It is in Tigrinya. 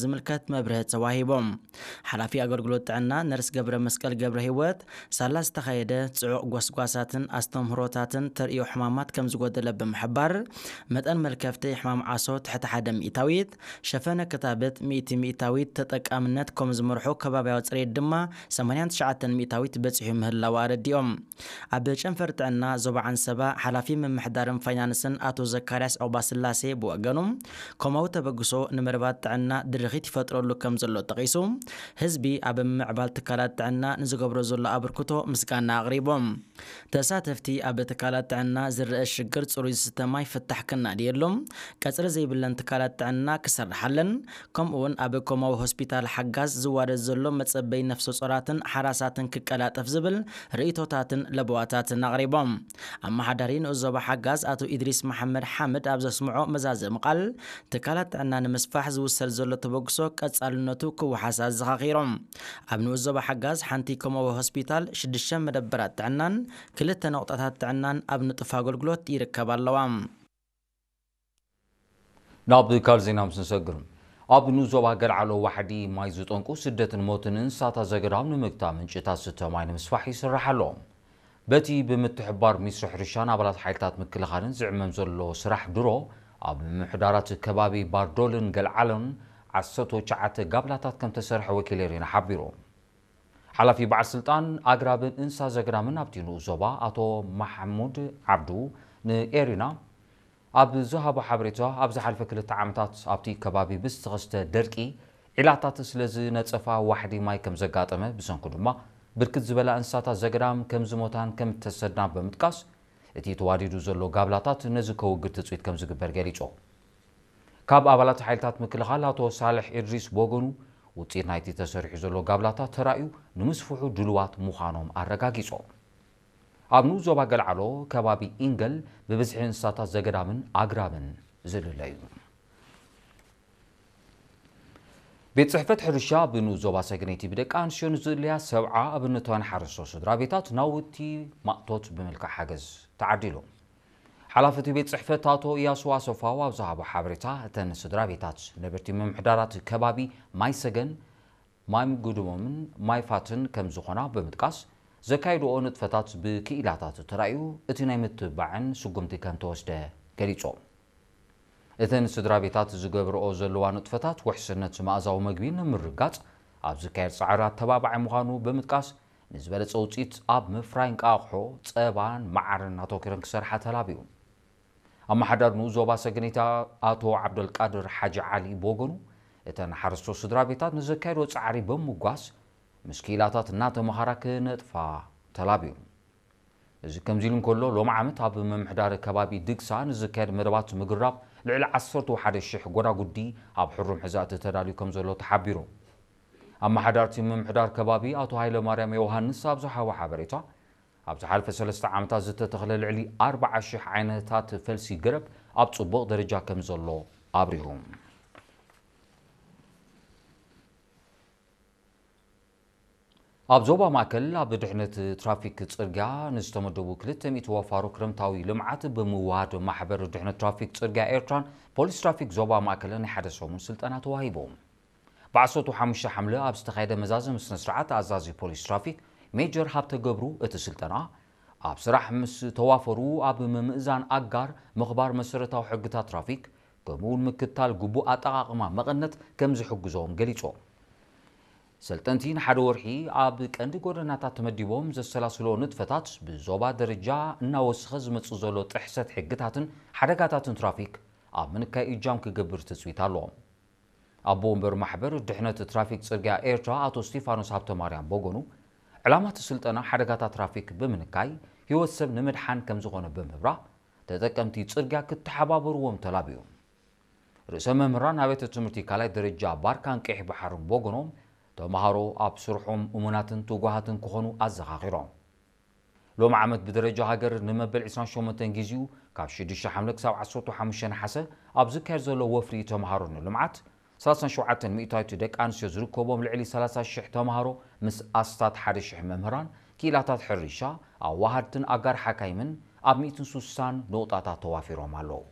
ዝምልከት መብርህ ተዋሂቦም። ሓላፊ ኣገልግሎት ጥዕና ነርስ ገብረ መስቀል ገብረ ህይወት፣ ሳላ ዝተኻየደ ጽዑቕ ጎስጓሳትን ኣስተምህሮታትን ተርእዮ ሕማማት ከም ዝጎደለ ብምሕባር፣ መጠን መልከፍቲ ሕማም ዓሶ ትሕቲ ሓደ ሚእታዊት፣ ሸፈነ ክታበት ሚእቲ ሚእታዊት፣ ተጠቃምነት ከም ዝመርሑ ከባብያዊ ጽሬት ድማ ሰማንያን ትሽዓተን ሚእታዊት በጺሑ ምህላው ኣረዲኦም። ኣብ ጨንፈር ጥዕና ዞባ ዓንሰባ ሓላፊ ምምሕዳርን ፋይናንስን ኣቶ ዘካርያስ ኦባስላሴ ብወገኑ፣ ኮማዊ ተበግሶ ንመደባት ጥዕና ድርኺት ይፈጥረሉ ከም ዘሎ ጠቒሱ፣ ህዝቢ ኣብ ምምዕባል ትካላት ጥዕና ንዝገብሮ ዘሎ ኣበርክቶ ምስጋና ኣቕሪቦም። ተሳተፍቲ ኣብ ትካላት ጥዕና ዝረአ ሽግር ጽሩይ ዝስተ ማይ ፍታሕ ክናድየሎም፣ ቀጽሪ ዘይብለን ትካላት ጥዕና ክሰርሓለን፣ ከምኡውን ኣብ ኮማዊ ሆስፒታል ሓጋዝ ዝዋደድ ዘሎ መጸበይ ነፍሰ ጾራትን ሓራሳትን ክቀላጠፍ ዝብል ርእይቶታትን ለበዋታትን ኣቕሪቦም። ኣመሓዳሪ ንኡስ ዞባ ሓጋዝ ኣቶ ኢድሪስ መሓመድ ሓምድ ኣብ ዘስምዖ መዛዘሚ ቃል፣ ትካላት ጥዕና ንምስፋሕ ዝውሰድ ዘሎ ተበግሶ ቀጻልነቱ ክወሓስ ኣዘኻኺሮም። ኣብ ንኡስ ዞባ ሓጋዝ ሓንቲ ኮማዊ ሆስፒታል፣ ሽዱሽተ መደበራት ጥዕናን ክልተ ነቑጣታት ጥዕናን ኣብ ንጡፍ ኣገልግሎት ይርከባ ኣለዋ። ናብ ካልእ ዜና ምስ ንሰግር፣ ኣብ ንኡስ ዞባ ገልዓሎ ዋሕዲ ማይ ዝጠንቁ ስደትን ሞትን እንስሳታት ዘገዳም ንምግታእ ምንጭታት ዝስተ ማይ ንምስፋሕ ይስራሕ ኣሎ። በቲ ብምትሕብባር ሚኒስትሪ ሕርሻን ኣባላት ሓይልታት ምክልኻልን ዝዕመም ዘሎ ስራሕ ድሮ፣ ኣብ ምምሕዳራት ከባቢ ባርዶልን ገልዓሎን ዓሰርተ ትሽዓተ ጋብላታት ከም ተሰርሐ ወኪል ኤሪና ሓቢሩ። ሓላፊ በዓል ስልጣን ኣግራብን እንስሳ ዘገዳምን ኣብቲ ንኡስ ዞባ ኣቶ ማሕሙድ ዓብዱ ንኤሪና ኣብ ዝሃቦ ሓበሬታ፣ ኣብ ዝሓለፈ ክልተ ዓመታት ኣብቲ ከባቢ ብዝተኸስተ ደርቂ ዒላታት ስለ ዝነጸፋ ዋሕዲ ማይ ከም ዘጋጠመ፣ ብሰንኩ ድማ ብርክት ዝበላ እንስሳታት ዘገዳም ከም ዝሞታን ከም እተሰድናን ብምጥቃስ፣ እቲ ተዋዲዱ ዘሎ ጋብላታት ነዚ ከውግድ ትጽቢት ከም ዝግበር ገሊጹ። ካብ ኣባላት ሓይልታት ምክልኻል ኣቶ ሳልሕ ኢድሪስ ብወገኑ፣ ውጽኢት ናይቲ ተሰሪሑ ዘሎ ጋብላታት ተራእዩ ንምስፍሑ ድሉዋት ምዃኖም ኣረጋጊጹ። ኣብ ንኡስ ዞባ ገልዓሎ ከባቢ ኢንገል ብብዝሒ እንስሳታት ዘገዳምን ኣግራብን ዝልለ እዩ። ቤት ጽሕፈት ሕርሻ ብንኡስ ዞባ ሰገነይቲ ብደቂ ኣንስትዮ ንዝድለያ ሰብዓ ኣብነታውያን ሓረስቶት ስድራ ቤታት ናውቲ ማእቶት ብምልካዕ ሓገዝ ተዓዲሉ። ሓላፊ እቲ ቤት ጽሕፈት ኣቶ እያሱ ኣሰፋው ኣብ ዝሃቦ ሓበሬታ፣ እተን ስድራ ቤታት ነበርቲ ምምሕዳራት ከባቢ ማይ ሰገን፣ ማይ ግድሞምን ማይ ፋትን ከም ዝኾና ብምጥቃስ፣ ዘካየድኦ ንጥፈታት ብክኢላታት ተራእዩ እቲ ናይ ምትብባዕን ስጉምቲ ከም ተወስደ ገሊጾም። እተን ስድራ ቤታት ዝገብርኦ ዘለዋ ንጥፈታት ውሕስነት መኣዛዊ መግቢ ንምርጋጽ ኣብ ዝካየድ ጻዕሪ ኣተባባዒ ምዃኑ ብምጥቃስ፣ ንዝበለጸ ውጽኢት ኣብ ምፍራይ እንቃቑሖ፣ ጸባን መዓርን ኣተኲረን ክሰርሓ ተላብዩ። ኣመሓዳሪ ንኡስ ዞባ ሰገነይቲ ኣቶ ዓብደልቃድር ሓጂ ዓሊ ብወገኑ፣ እተን ሓረስቶት ስድራ ቤታት ንዘካየድኦ ጻዕሪ ብምምጓስ፣ ምስ ክኢላታት እናተመሃራ ክነጥፋ ተላብዩ። እዚ ከምዚ ኢሉ እንከሎ፣ ሎሚ ዓመት ኣብ ምምሕዳር ከባቢ ድግሳ ንዝካየድ መደባት ምግራብ ልዕሊ ዓሰርተ ሓደ ሽሕ ጎዳጉዲ ኣብ ሕሩም ሕዛእቲ ተዳልዩ ከም ዘሎ ተሓቢሩ። ኣመሓዳርቲ ምምሕዳር ከባቢ ኣቶ ሃይለ ማርያም ዮሃንስ ኣብ ዝሃቦ ሓበሬታ፣ ኣብ ዝሓለፈ ሰለስተ ዓመታት ዝተተኽለ ልዕሊ ኣርባዓ ሽሕ ዓይነታት ፈልሲ ገረብ ኣብ ጽቡቕ ደረጃ ከም ዘሎ ኣብሪሁ። ኣብ ዞባ ማእከል ኣብ ድሕነት ትራፊክ ጽርግያ ንዝተመደቡ ክልተ ሚእቲ ወፋሮ ክረምታዊ ልምዓት ብምውሃድ ማሕበር ድሕነት ትራፊክ ጽርግያ ኤርትራን ፖሊስ ትራፊክ ዞባ ማእከልን ናይ ሓደ ሰሙን ስልጠና ተዋሂቦም። ብዓሰርተ ሓሙሽተ ሓምለ ኣብ ዝተኻየደ መዛዘሚ ስነ ስርዓት ኣዛዚ ፖሊስ ትራፊክ ሜጀር ሃብተ ገብሩ እቲ ስልጠና ኣብ ስራሕ ምስ ተዋፈሩ ኣብ ምምእዛን ኣጋር ምኽባር መሰረታዊ ሕግታት ትራፊክ ከምኡውን ምክታል ግቡእ ኣጠቓቕማ መቐነት ከም ዝሕግዞም ገሊጾም። ሰልጠንቲ ንሓደ ወርሒ ኣብ ቀንዲ ጎደናታት ተመዲቦም ዘሰላስሎ ንጥፈታት ብዞባ ደረጃ እናወሰኸ ዝመጽእ ዘሎ ጥሕሰት ሕግታትን ሓደጋታትን ትራፊክ ኣብ ምንካይ እጃም ክገብር ትጽቢት ኣለዎም። ኣቦ ወንበር ማሕበር ድሕነት ትራፊክ ጽርግያ ኤርትራ ኣቶ ስቲፋኖስ ሃብተማርያም በጎኑ፣ ዕላማ እቲ ስልጠና ሓደጋታት ትራፊክ ብምንካይ ህይወት ሰብ ንምድሓን ከም ዝኾነ ብምብራህ፣ ተጠቀምቲ ጽርግያ ክተሓባበርዎም ተላብዩ። ርእሰ መምህራን ኣብያተ ትምህርቲ ካልኣይ ደረጃ ባርካን ቀይሕ ባሕርን በጎኖም፣ ተምሃሮ ኣብ ስርሖም እሙናትን ትጉሃትን ክኾኑ ኣዘኻኺሮም። ሎሚ ዓመት ብደረጃ ሃገር ንመበል ዕስራን ሸሞንተን ግዜኡ ካብ ሽዱሽተ ሓምለ ክሳብ ዓሰርተ ሓሙሽተ ነሓሰ ኣብ ዝካየድ ዘሎ ወፍሪ ተምሃሮ ንልምዓት፣ ሰላሳን ሸውዓተን ሚእታዊት ደቂ ኣንስትዮ ዝርከቦም ልዕሊ ሰላሳ ሽሕ ተምሃሮ ምስ ኣስታት ሓደ ሽሕ መምህራን፣ ክኢላታት ሕርሻ፣ ኣዋሃድትን ኣጋር ሓካይምን ኣብ ሚእትን ስሳን ነቑጣታት ተዋፊሮም ኣለዉ።